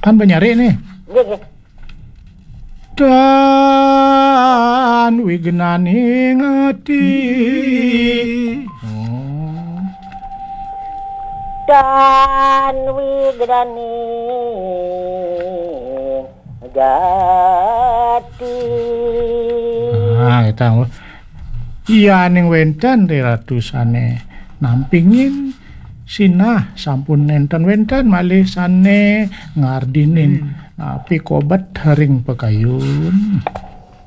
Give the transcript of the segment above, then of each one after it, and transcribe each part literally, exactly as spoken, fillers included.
Kan banyare nih. Nggih, nggih. Dan wignaning ati. Oh. Dan wignaning gati. Nah, kita iya ning wenten ri Ratu sane nampingin sinah sampun nenten wenten malih sane ngardinin. Hmm. Napi kobet ring pakayun.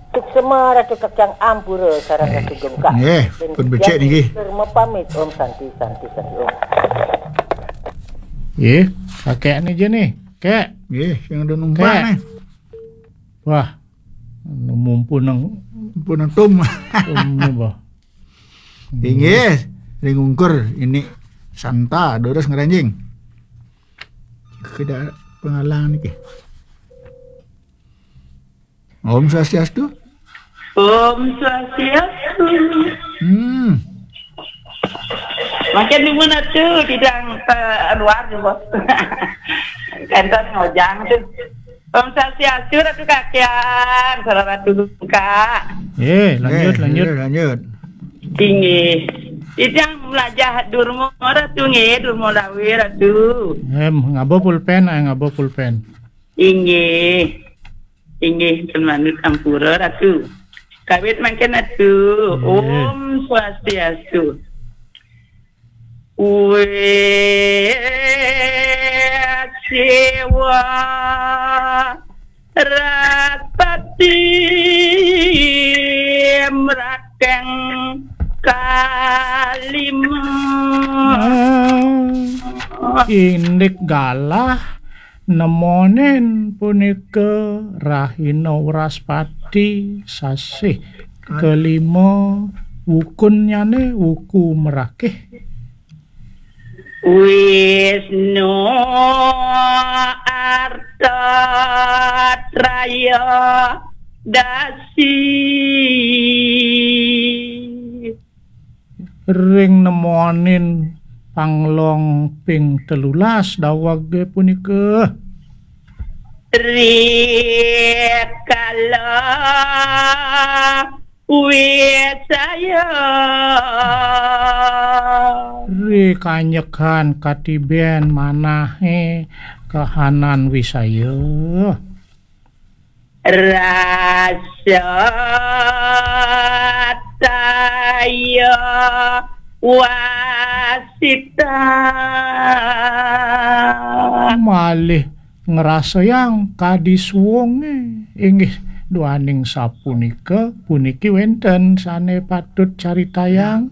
Suksma Ratu Kakang ampura sareng Ratu Gengkak. Nggih, pun becik niki. Mepamit. Om Santi, Santi, Santi, Om. Nggih, kakek ni je nih, Kek. Nggih, sing ada numpang nih. Wah, mumpun nang mumpun nang tum. Tum ni, bah. Inggih, ring ungkur ini santa, durus ngranjing. Tidak pengalang niki. Om Swastiastu. Om Swastiastu. Hmm. Makin di mana tu? Tidak, eh, luar tu, Bos. Kantor ngojang tu. Om Swastiastu, Ratu Kakian, salah Ratu Gengkak. Eh, lanjut, eh, lanjut. Lanjut, lanjut. Inggih. Titiang melajah Durma Ratu nggih, Durma Dawe Ratu. Em, ngaba pulpen, eh, ngaba pulpen. Inggih. Inggih, pun manut ampura Ratu. Kawit mangkin Ratu. Inggih. Om Swastiastu. Wis siwa raspati mrakeng kalima. Ah, indik galah nemonin punika rahina Wraspati sasih kalima wukunnyane wuku merakih. Wisnu Arta Traya Dasi. Ring nemonin panglong ping telulas dawege punika. Rikala wisaya. Ri kanyekan katiben manahe kahanan wisaya. Rasa taya wasita. Malih ngrasayang kadi suwunge. Inggih, duaning sapunika, puniki wenten sane patut caritayang.